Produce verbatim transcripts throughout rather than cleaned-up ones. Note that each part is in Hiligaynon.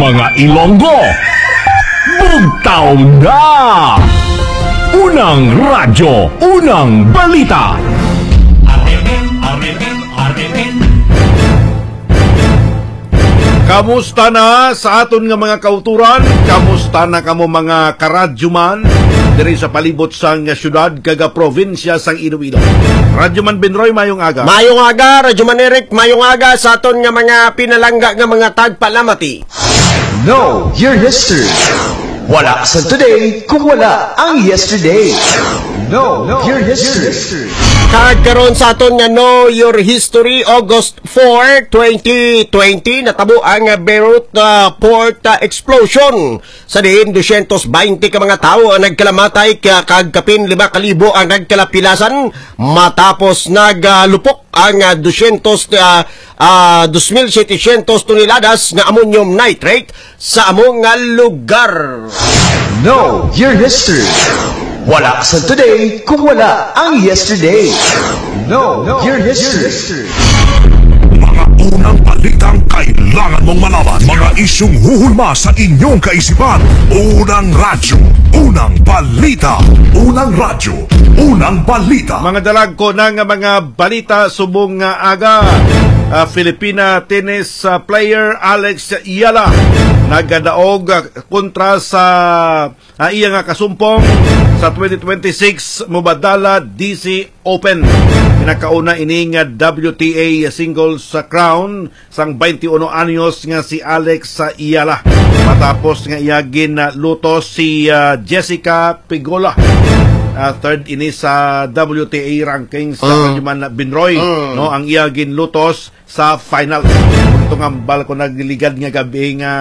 Mga Ilonggo, bugtaw na! Unang radyo, unang balita. Kamusta na sa aton nga mga kauturan? Kamusta na kamo, mga karadyoman, diri sa palibot sang syudad kag probinsya sang Iloilo? Radyoman Benroy, mayong aga. Mayong aga, Radyoman Eric, mayong aga sa aton nga mga pinalangga nga mga tagpalamati. Know your history. Wala sa today kung wala ang yesterday. Know your history. Kag karon sa aton nga Know Your History, August four, twenty twenty, natabo ang Beirut, ah, port, ah, explosion, sa diin dosyentos baynte ka mga tawo ang nagkalamatay, ka-, kag kapin lima ka libo ang nagkalapilasan matapos nagalupok ang, ah, dosyentos, ah, ah, dos mil setecientos toneladas nga ammonium nitrate sa amo nga lugar. Know your history. Wala sa today kung wala ang yesterday. Know your history. Mga unang balitang kailangan mong malaman. Mga isyung huhulma sa inyong kaisipan. Unang radyo, unang balita. Unang radyo, unang balita. Mga dalagko na nga mga balita subong nga aga. Ah, Filipina tennis, ah, player Alex Yala nagadaog, ah, kontra sa, ah, iya nga kasumpong sa twenty twenty-six Mubadala D C Open. Pinakauna ini nga W T A singles sa crown sang twenty-one anyos nga si Alex Yala, matapos nga iya ginlutos si, ah, Jessica Pegula. Ah, third ini sa W T A ranking sa Mm. Radyoman Binroy, Mm. no, ang iya ginlutos sa final. Itong ambal ko nagligad nga gabi nga,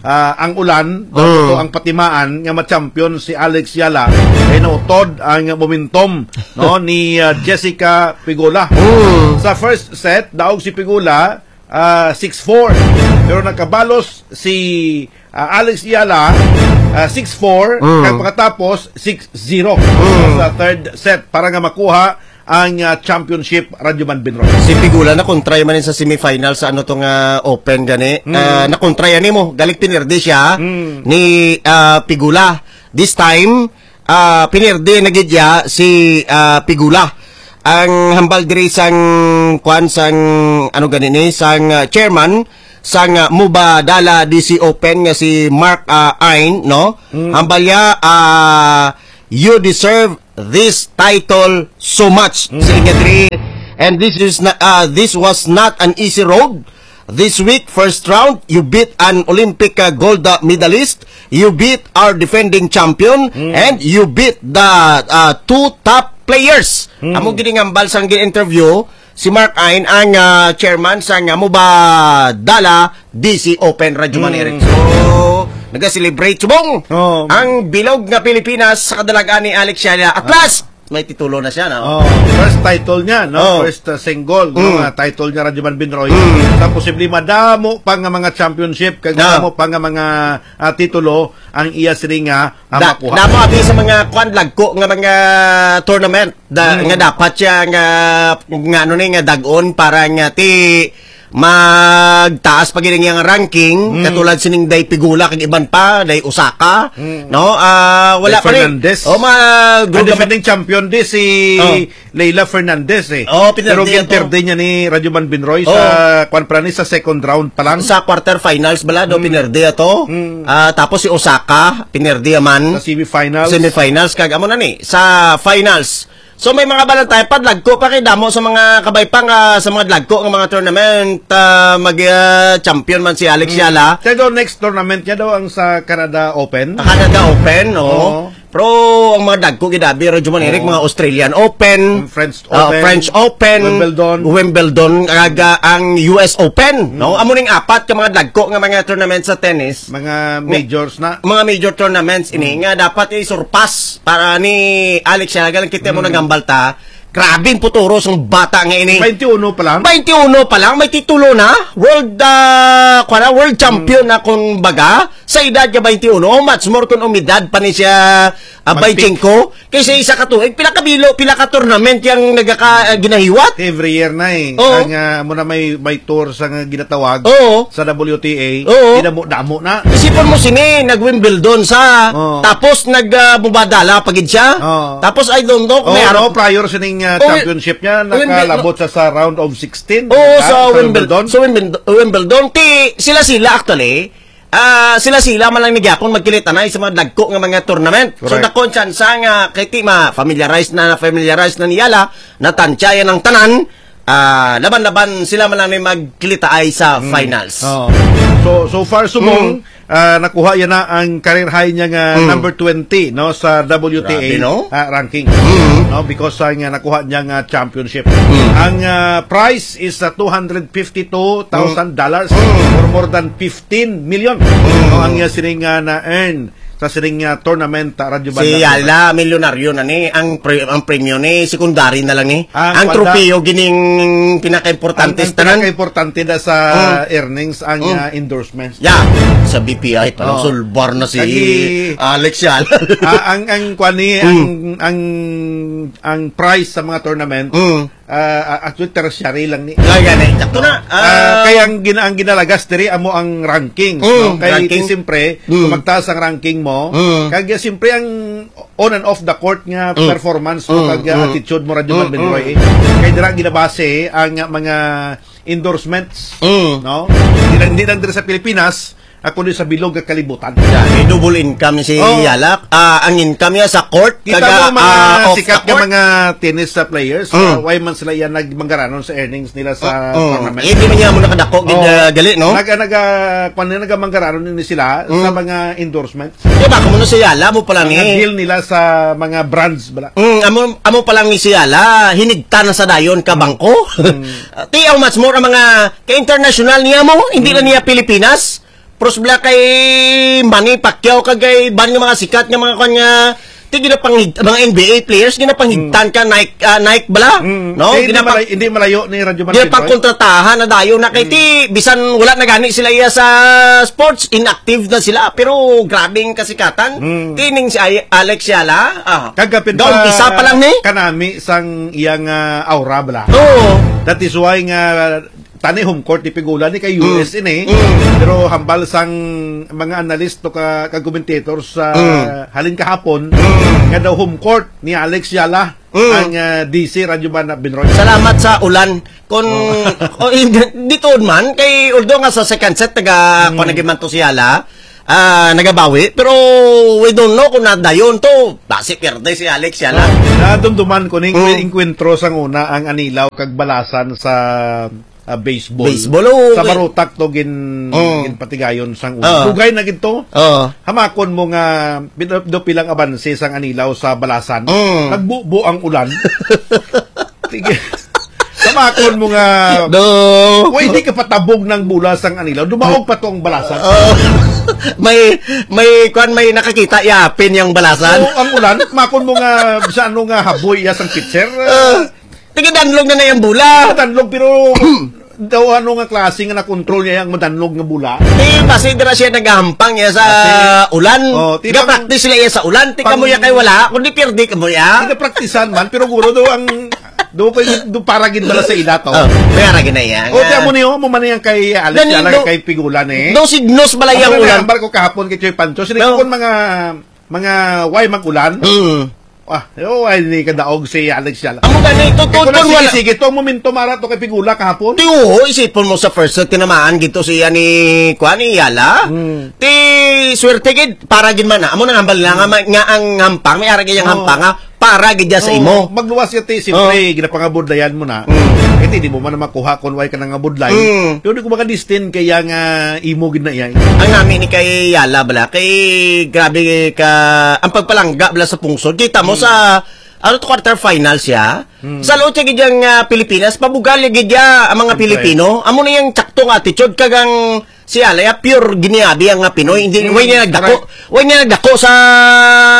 ah, ang ulan, Mm. ito ang patimaan nga ma-champion si Alex Yala, kay nautod ang momentum, no, ni, ah, Jessica Pegula. Mm. Sa first set, daog si Pegula, ah, six four. Pero nakabalos si, ah, Alex Yala, ah, six four, Mm. kag pagkatapos, six zero. Mm. Sa third set, para nga makuha ang, ah, championship, Radyoman Binroy. Si Pegula nakontray man sa semifinal sa ano to nga open gani. Mm. Ah, nakontray ani mo, galing pinirdi siya Mm. ni, ah, Pegula. This time, ah, pinirdi na gid niya si, ah, Pegula. Ang hambal diri sang kwan sang ano gani ni, sang, ah, chairman sang, ah, Mubadala D C Open nga si Mark, ah, Ain, no? Mm. Hambal niya, ah, "You deserve this title so much." Mm. Sila nga diri, and this is na, ah, this was not an easy road. This week, first round, you beat an Olympic, uh, gold, uh, medalist, you beat our defending champion, Mm. and you beat the, uh, two top players. Mm. Amo gid ang hambal sang gin-interview si Mark Ain, ang, uh, chairman sang, uh, Mubadala D C Open, Radyoman Mm. Eric. So, naga-celebrate subong Oh. ang bilog nga Pilipinas sa kadalagan ni Alex Yala. At Ah. last, may titulo na siya, no? Oh, first title niya, no? Oh. First, uh, single, no? Mm. Nga title niya, Radyoman Binroy. Mm. Sa posible madamo pa nga mga championship, kag Ah. madamo pa nga mga, ah, titulo ang iya sini nga, ah, Da-, makuha. Damo abi sa mga kwan, lagko nga mga tournament da-, Mm. nga dapat siya nga, nga ano ni, nga dag-on para nga ti magtaas pa gid ang iyang ranking, Mm. katulad sining day Pegula kag iban pa, day Osaka, Mm. no? Ah, wala Day pa ni. Fernandez. Oh, ma-, Ah, group defending champion di si Oh. Leila Fernandez, eh. Oh, pinerde Pero ato. ginperde niya ni Radyoman Binroy sa Oh. kwan pa ni, sa second round pa lang. Sa quarterfinals bala, do, Mm. pinerde ato. Mm. Ah, tapos si Osaka, pinerde man. Sa semifinals. Semifinals, kag amo na ni, sa finals. So, may mga balantay pa, dagko pa kay damo sa mga kabay pa nga, sa mga dagko nga mga tournament, ah, mag, ah, champion man si Alex Mm. Yala. Kaya daw next tournament niya daw ang sa Canada Open. Canada Open, oo. Oo. Pero ang mga dagko gid abi, Radyoman Eric, Oo. mga Australian Open, Ang French ah, Open, French Open, Wimbledon. Wimbledon, kag, ah, ang U S Open, no? Mm. Amo ning apat ka mga dagko nga mga tournament sa tennis. Mga Nga majors na. mga major tournaments ini Mm. nga dapat i-surpass para ni Alex Yala. Galing kita mo Mm. naghambal ta. Grabing puturos ang bata nga ini. Twenty-one pa lang? Twenty-one pa lang, may titulo na. World, ah, kuwan na, world champion Mm. na, kung baga, Sa edad nga twenty-one, how much more kung umidad pa ni siya, ah, Magpi- twenty-five? Kaysa isa ka tuig, pila ka bilo, pila ka tournament yang nagaka-, ah, ginahiwat? Every year na eh. Oo. Ang, ah, amo na may, may tour sa nga ginatawag Oo. sa W T A, Oo. dinamo-damo na. Isipon mo sini, nag-Wimbledon sa, Oo. tapos nag, ah, Mubadala pa gid siya. Oo. Tapos I don't know kung Oo, may harap no, prior sining, ah, Oo, championship niya, Wimbledon. nakalabot sa, sa round of sixteen, Oo, di ba? sa Sa Wimbledon. Wimbledon. Sa Wimbledon. Wimbledon. Ti, sila-sila actually, ah, sila-sila man lang ni gyapon magkilitanay sa mga dagko nga mga tournament. So, Correct. dako ang tsansa nga kay ti ma-familiarize na, na-familiarize na ni Yala, natansya yan ang tanan, ah, laban-laban sila man lang ni magkilitaay sa Mm. finals. Oo. So, so far, subong, Mm. ah, nakuha yan na ang career high niya nga Mm. number twenty, no, sa W T A, Grabe, no? ah, ranking. Mm. No, because sa nga nakuha niya nga championship. Mm. Ang, ah, prize is, ah, two hundred fifty-two thousand dollars Mm. or more than fifteen million. Mm. No, ang, ah, sining, ah, na-earn sa sining, ah, tournament, ah, Radyo Si Banda. Yala, milyonaryo na ni. Ang pre-, ang premyo ni, secondary na lang ni. Ah, Ang wala. tropeyo, gining pinaka-importante Ang, ang sa tanan. pinaka-importante na sa Mm. earnings, ang, Mm. ah, endorsements. Yeah. Sa B P I, parang Oo. sulbar na si Lagi, Alex Yala. ah, ang, ang, kwan ni, Mm. ang, ang, ang price sa mga tournament, Mm. ah, ah, actually, tertiary lang ni. Kaya gani, sakto na. Ah, Ah, kaya ang gina-, ang ginalagas diri amo ang ranking, Mm, no? Kay ranking. siyempre, Mm. kung magtaas ang ranking mo, Mm. kaya siyempre ang on and off the court nga Mm. performance mo, Mm, kag, ah, mm. attitude mo, Radyo Mm, Marvin Roy, mm. eh. Kay dira ginabase ang, ah, mga endorsements, Mm. no? Hindi lang, hindi lang diri sa Pilipinas, ah, kundi sa bilog nga kalibutan. Yeah, may double income si Oh. Yala. Ah, ang income niya sa court, Kita kaga, mo mga ah, off sikat the nga court. mga tennis, ah, players, Mm. ah, why man sila yan nagmanggaranon sa earnings nila sa Mm, mm. tournament? Eh, di man niya mo nakadako, gid, Oh. ah, gali, no? Naga-, naga-, kwan nila, nagamanggaranon ni sila sa Mm. mga endorsement. Di ba, kamo na si Yala, mo pa lang Mga eh. deal nila sa mga brands, bala. Mm, amo, amo pa lang ni si Yala, hinigta na sa dayon ka bangko. Mm. Ah, ti, how much more ang mga ka-international niya mo, hindi na Mm. niya Pilipinas. Pros bala kay Manny Pacquiao, kag kay ban nga mga sikat nga mga kanya, ti ginapanghig-, mga N B A players, ginapanghigtan Mm. ka, Nike, ah, Nike bala, Mm. no? Eh, hindi Ginapang-, malay-, hindi malayo ni Radyo Martin, Roy. ginapangkontratahan na dayon na kay Mm. ti, bisan wala na gani sila iya sa sports, inactive na sila, pero grabing kasikatan. Mm. Tining si Ay-, Alex Yala, ah, Kagapin gaon pa isa pa lang ni? kanami sang iyang, ah, aura bala. Oo. That is why nga tani home court ni Pigula ni kay Mm. U S ini. Mm. Pero hambal sang mga analyst to ka, ka commentators sa Mm. halin kahapon, Mm. nga daw home court ni Alex Yala Mm. ang, ah, D C Radyo Banda Binroy. Salamat sa ulan. Kung, Oh. oh, hindi, di tuod man, kay although nga sa second set, taga, Mm. kung naging man to si Yala, ah, nagabawi, pero we don't know kung nadayon to. Basi pierde si Alex Yala. Nadumduman ko ning Mm. enkwentro sang una ang Anilaw kag Balasan sa ah, baseball. Baseball, oo, Sa okay. Marutak to gin-, Mm. ginpatigayon sang una. Oo. Dugay na gid to. Oo. Hamakon mo nga pin-, do pilang abanse sang Anilaw sa Balasan. Mm. Nagbubo ang ulan. Sige. Hamakon mo nga No. pwede ka patabog ng bola sang Anilaw. Dumaog pa to ang Balasan. Oo. May, may, kwan, may nakakita, yapin yung Balasan. Oo, ang ulan. Hamakon mo nga sa ano nga haboy ya sang pitcher. Ah. Tigadanlog na na yung bola. Danlog, pero daw ano nga klase nga na-control niya ang madanlog nga bola? Di, basi dira siya nagahampang niya sa Basi. ulan. Oh, di ba Ga-practice sila iya sa ulan. Ti pang- kamo ya kay wala, kundi pirdi kamo ya. Hindi praktisan man, pero guro do ang, do ko, do para gid bala sa ila to. Oh, may ara gid na iya. Oh, nga. Tiyan mo niyo, mo man yang kay Alex, Gani, ala do, kay Pigulan eh. Do signos bala Ang yang mga ulan. Hambal ko kahapon kay Choy Pancho, sila No. kon mga, mga way mag-ulan. Mm. Ah, oh, ay, ni kadaog si Alex Yala. Amo gani, to, to, Ito na, to, sige, wala. sige, to, momento, mara, to kay Pigula kahapon. Ti, oo, isipon mo sa first set, tinamaan gito siya ni, kuan, ni Yala. Hmm. Ti, swerte gid, para gid man na. Amo nang hambal na nga, Hmm. ma-, nga ang hampang, may arag iyang Oh. hampang, nga, para gid niya sa Oh, imo. magluwas ka, ti, siyempre, Oh. ginapangabudlayan mo na. Hmm. Eh, ti, di mo man na makuha kung way ka nangabudlay. Hmm. Pero di ko makadistin kaya nga imo gid na iya. Ang nami ni kay Yala, bala, kay grabe ka, ang pagpalangga, bala, sa pungsod. Kita mo Hmm. sa, ano to, quarter final siya? Hmm. Sa loob siya gid yang, ah, Pilipinas, pabugal ya gid ya ang mga Siyempre. Pilipino. Amo na yung tsaktong attitude, kagang si Yala, ya, pure giniabi ang, ah, Pinoy. Hindi, Hmm. way niya nagdako, Correct. way niya nagdako sa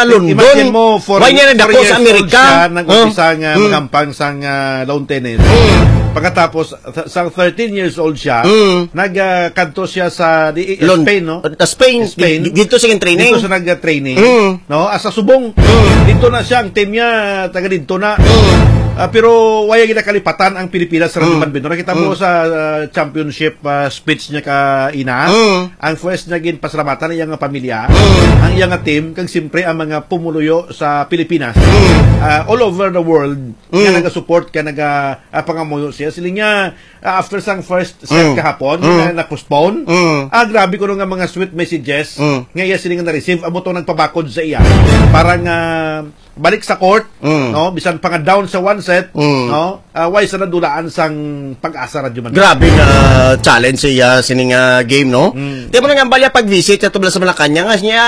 London. Imagine mo, four, Way niya nagdako four sa years old Amerika. siya, nag-umpisa Huh? nga Hmm. maghampang sa, ah, lawn tennis. Hmm. Pagkatapos, sa, sa thirteen years old siya, Mm. nagkanto siya sa, di, Lon-, Spain, no? uh, Spain, Spain. di-, dito siya training. Dito siya nag-training, Mm. no? Asa subong. Mm. Dito na siya, ang team niya, taga dito na. Mm. Ah, pero wala gid nakalipatan ang Pilipinas sa Mm. Radyo Bambino. Nakita mo Mm. sa, ah, championship, ah, speech niya ka ina, Mm. ang first niya ginpasalamatan ang iyang pamilya, Mm. ang iyang team, kag siyempre ang mga pumuluyo sa Pilipinas. Mm. Ah, all over the world, nga Mm. naga-support, ka naga, ah, pangamuyo siya. Sila niya, ah, after sang first set Mm. kahapon, Mm. na, na-postpone. Mm. Ah, grabe ko nga mga sweet messages Mm. nga iya sila nga na-receive. Amo to nagpabakod sa iya. Para nga balik sa court, Mm. no? Bisan pa nga down sa one set, Mm. no? Ah, why sa nadulaan sang Pag-asa Radyo Manila? Grabe nga challenge sa iya sining, ah, game, no? Mm. Di mo na nga balya pag-visit sa tubla sa Malacañang, nga niya,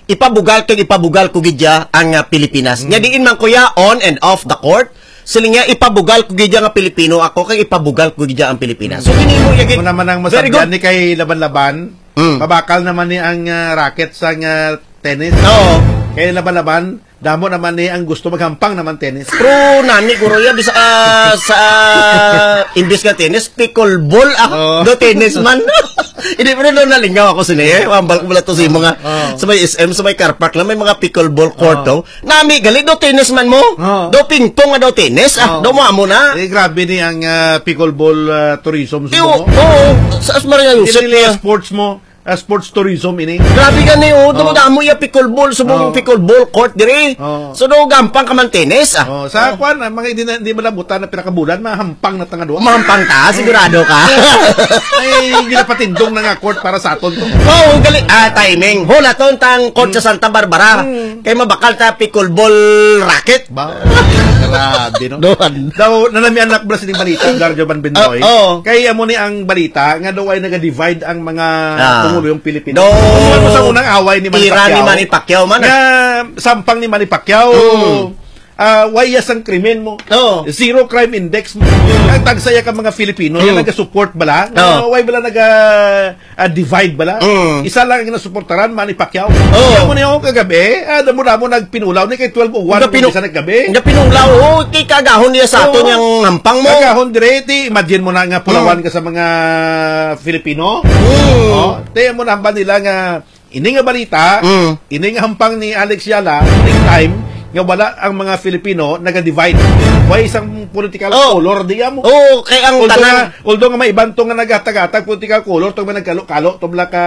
ipabugal kag ipabugal ko gid ya ang, ah, Pilipinas. Mm. Nya diin man ko ya on and off the court, siling niya, ipabugal ko gid ya nga Pilipino ako, kag ipabugal ko gid ya ang Pilipinas. Mm. So, ginimo niya gid. Kung naman ang Very masabyan good. ni kay Laban-Laban, Mm. mabakal naman ni ang, ah, racket sa, ah, tennis. Oo. Kay Laban-Laban, damo naman ni ang gusto maghampang naman tennis. Pero nani, guro, ya, bisa, ah, sa, ah, imbis nga tennis, pickleball, ah, Oo. do tennis man. Hindi, pero doon nalingaw ako sini, eh. Mambal ko mula to sa imo nga. Oo. Sa may S M, sa may car park lang, may mga pickleball court, Oo. oh. Nami, gali, do tennis man mo. Oo. Do ping-pong nga do tennis, ah. Oo. Do mo amo na. Eh, grabe ni ang, ah, pickleball, ah, tourism sa Eh, oo, mo. oo. Sa Asmaria Hindi Yusuf nila na. sports mo. Ah, sports tourism ini. Grabe gani, oh. Oh. Damo-damo iya pickleball, subong Oh. pickleball court diri. Oh. So, do gampang ka man tennis, ah. Oh, sa Oh. kwan, ang mga hindi na, hindi malabutan na pinakabulan, mahampang na tanga duwa. Mahampang ka, sigurado ka. Ay, ginapatindong na nga court para sa aton to. Oh, gali, ah, timing. Hulaton tang court sa Mm. Santa Barbara. Mm. Kay mabakal ta pickleball racket. Ba? Grabe, no? Doon. Daw, nalamian na ko bala sining balita, Garjo Van Bendoy. Ah, oo. Kay amo ni ang balita nga daw ay naga-divide ang mga Ah. pumuluyong Pilipino. Daw Kung ano sa unang away ni Manny tira ni Pacquiao. Manny Pacquiao man, Nga ah. sampang ni Manny Pacquiao. Mm. Ah, way ya sang krimen mo. Oo. Zero crime index mo. Ang tagsaya ka mga Filipino, Mm. nga naga-support bala. Nga Oo. way bala naga ah, divide bala. Mm. Isa lang ang nasuportaran, Manny Pacquiao. Oh. Kaya mo niya ako kagabi, ah, damo-damo nagpinulaw ni kay twelve oh one Nga pinu-, kung isa naggabi. nga pinulaw, oh, kay kagahon niya sa aton Oo. yang hampang mo. Kagahon dire, ti, imagine mo na nga pulawan Mm. ka sa mga Filipino. Mm. Oh, te mo na hambal nila nga ini nga balita, Mm. ini nga hampang ni Alex Yala, next time, nga wala ang mga Filipino naga-divide. Way isang political Oh. color diya mo. Oh, kay ang Although tanan nga, although nga may iban to nga naghatag-hatag political color, to may nagkalo-kalo, to bala ka,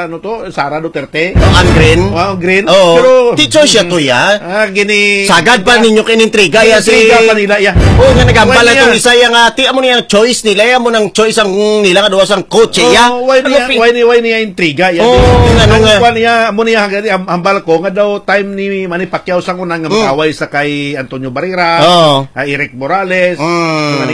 ano to, Sara Duterte. Oh, ang green? Oh, ang green. Oo. Pero, Teacher siya to, ya. ah, gini-, Sagad pa ninyo kinintriga, ya, si Intriga pa nila, ya. Oh, nga nagambal Why na niya? itong isa, ya, nga, ti, amo niyang choice nila, ya, amo nang choice ang nila, nga duwa sang coach, ya. Oh, why Ano niya, pi- why niya, why niya intriga, ya? Oh, Di, ano ang nga? kwan niya, amo niya, hanggang, am-, ambal ko, nga daw time ni Manny Pacquiao sa unang Mm. mag-away sa kay Antonio Barrera, Oh. ah, Eric Morales, Mm. mga